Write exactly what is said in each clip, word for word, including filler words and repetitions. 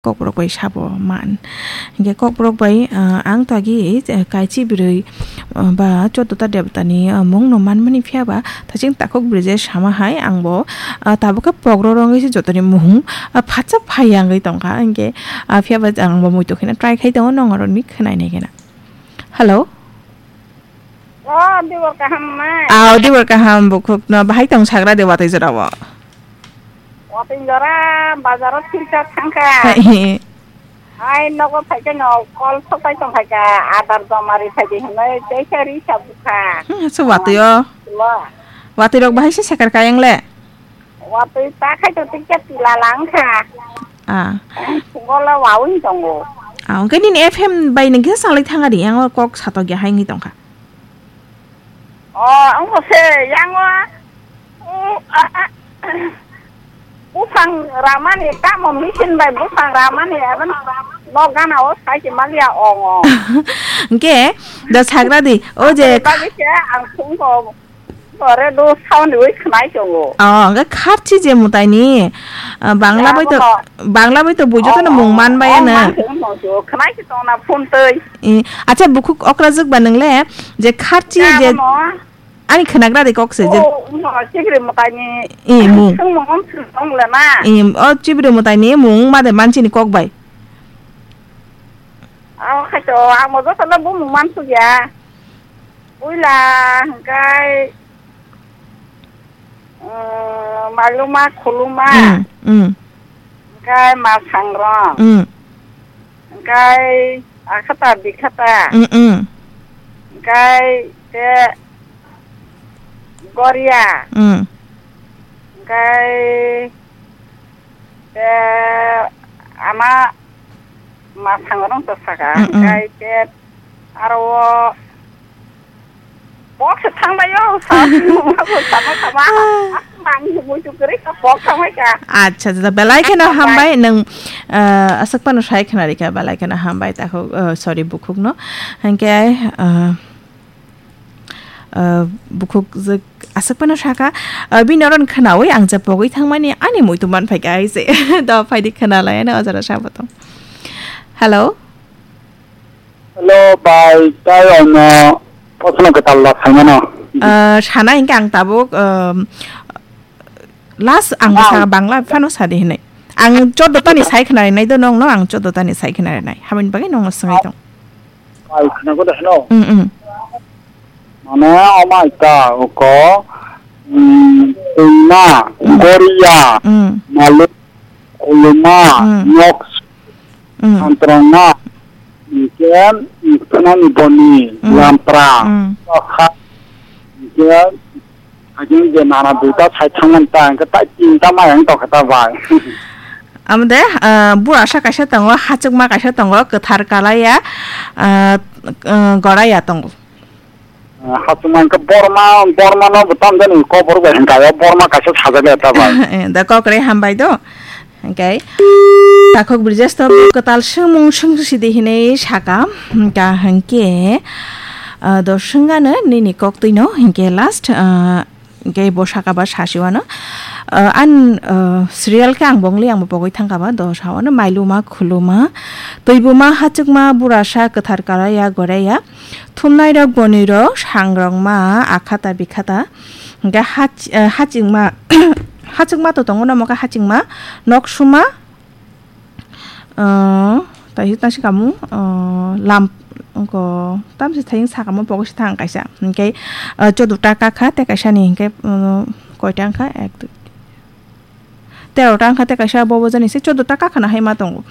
Kokborok bai sabo man. Hingke kokborok bai, ah, ang to agi, eh, kaichi bwrwi, ah, ba choddo ta debota ni, ah, mung no manmani phiya ba thaching takhuk Brijesh sama hai ang bo, ah, tabuk khe pogro rwngwi se jotoni mung, ah, phatsa phai yangwi tongkha. Hingke, ah, phiya ba ang bo muitu kheno try khai tongo, nong oro ni khwnai nai kheno. Hello? O, Dibor kaham nai? Ah, Dibor kaham bukhuk no bahai tong sagra de watwi jora o. Watwi jora bazar o silchar thangkha. Hai. Ai nogo phaikhe no call sopai tongkhaikha, adar joma ri phaidi hinwi teisa ri sa bukha. Hmm, se watwi o. Lo. Watwi rok bahai se sekar kayang le. Watwi ta khai to tikhe tila langkha. Ah. Sungo le wawi tongo. Ah, hwnkhe nini F M bai nini kisa salai thang ari, yang o kok satok ya hai wngwi tongkha. O, wngkha se, yang o, u, a, a, buphang ramani, tamo machine bai buphang ramani, aboni no gana o sai se maliya ong o. Hwnkhe, da sagra di, o je Aboni bagwi se ang thung ko. Ore do sound wi khwnai tongo. Oh, hwnkhe kharchi je mwtaini, ah, Bangla bai to, Bangla bai to bujo to mung man bai ano. Khwnai se tongna phone twi. Eh, acha bukhuk okrajwk ba nwngle je kharchi je ani khwnagra de kok se je. Oh, no, chibri mwtaini. Eh, mung. Sung mung sung tong le na. Eh, o chibri mwtaini mung ma de manchini kok bai. Abo khai to, ang bo joto no bumung man sugya. Puila hwnkhe, uh, Maluma Khuluma. Mm, mm. Hwnkhe Masangrong. Mm. Hwnkhe Akhata Bikhata. Mm, mm. Hwnkhe te Goria. Mm. Hwnkhe te ama Masangrong to saka, mm, mm. Hwnkhe te aro o box thanglaio, sa, sama, sama. Ah. Ang muitu kwrwi kha, box thanglaikha. Acha, acha, belai kheno hambai. Hambai nwng, ah, aswk phano sai khna rikha, belai kheno hambai, takhuk, ah, sorry, bukhukno. Hwnkhe, ah, ah, bukhuk je aswk phano saka, ah, bini oro khnaui ang je pogwi thangmani ani muitu man phaikha hai se. Do phaidi khna lai ani ojora sabo tong. Hello? Hello, bai, tai ano proshno kwtal da saimano. Ah, sana hingke ang tabuk, um, last ang sa Bangla phano sadi hinai. Ang choddo tani sai khna rinai do nongno, ang choddo tani sai khna rinai. Habini bagwi nongno swngwi tong. Bai, khna ko da heno. Mm, mm. Mane, omai ta, oko, mm, Twima, Goria, mm. Maluk, Khuluma, mm. Nok, mm. Santrongma, hingke, Thanani Boni, mm. Lampra, mm. Tokha, hingke, hingke je nana duita sai thangmani ta, hingke tai tinta mai ang tokha ta bai. Amo de, ah, burasa kaisa tongo, hachukma kaisa tongo, kwthar kalaiya, ah, ah, goraiya tongo. Ah, hachukma hingke Borma, Borma no bo tamjani kobor bai hingka o, Borma kaisa sajak le ta bai. Eh, da kokre hambai do. Hingke takhuk Brijesh to kwtal swngmung swngsi di hinui saka, hingka hingke, ah, do swngano nini koktwi no, hingke last, ah, hingke bo saka ba sasiwano. Ah, an, ah, serial khe ang bongli ang bo pogwi thangka ba, do sawano Mailuma, Khuluma, Twibuma, Hachukma, Burasa, Kwthar Kalaiya, Goraiya, Thumnairok, Bonirok, Sangrokma, Akhata, Bikhata, hingke hach-, eh, Hachingma, Hachukma to tongo, nomo khe Hachingma, Noksuma, eh, tai tangsi kamu, eh, lam, ongko, tamsi thayung sakamo pogo si thang kaisa, hingke, eh, Choduta Kakha, te kaisa ni hingke, eh, koita wngkha, ek, dui, Tero ta wngkha tei kaisa bobo jani se choudo ta kakhana hai ma tongo.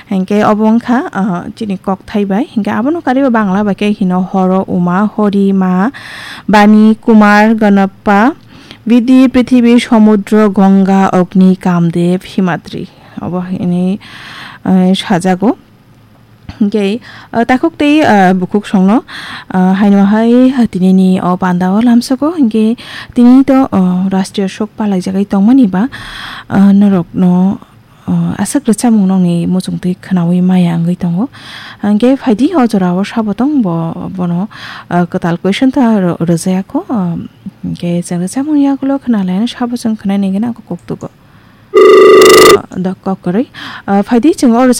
Hinkhe obo wngkha, ah, chini kokthai bai. Hinkhe abono kariwi Bangla bai khe hino Horo, Uma, Hori, Ma, Bani, Kumar, Ganappa, Vidhi, Prithibi, Samudra, Ganga, Agni, Kamdev, Himadri. Obo hini, ah, sajago. Hinkhe, ah, takhuk tei, ah, bukhuk songno, ah, haino hai, ah, tinini o panda o lamsoko, hinkhe tini to, ah, rastrio sok palaijagwi tongmani ba, ah, norokno, ah, aswk rwchapmung nokni muchungtwi khwnaui maya wngwi tongo. Hinkhe phaidi o jorao sabo tong bo, bono, ah, kwtal question ta rw-, rwjaya kho, ah, hinkhe chwng rwchapmung yagulo khwnalaino sabo chwng khwnai nangina koktugo. Ah, da kok kwrwi. Ah, phaidi chwng o rwchap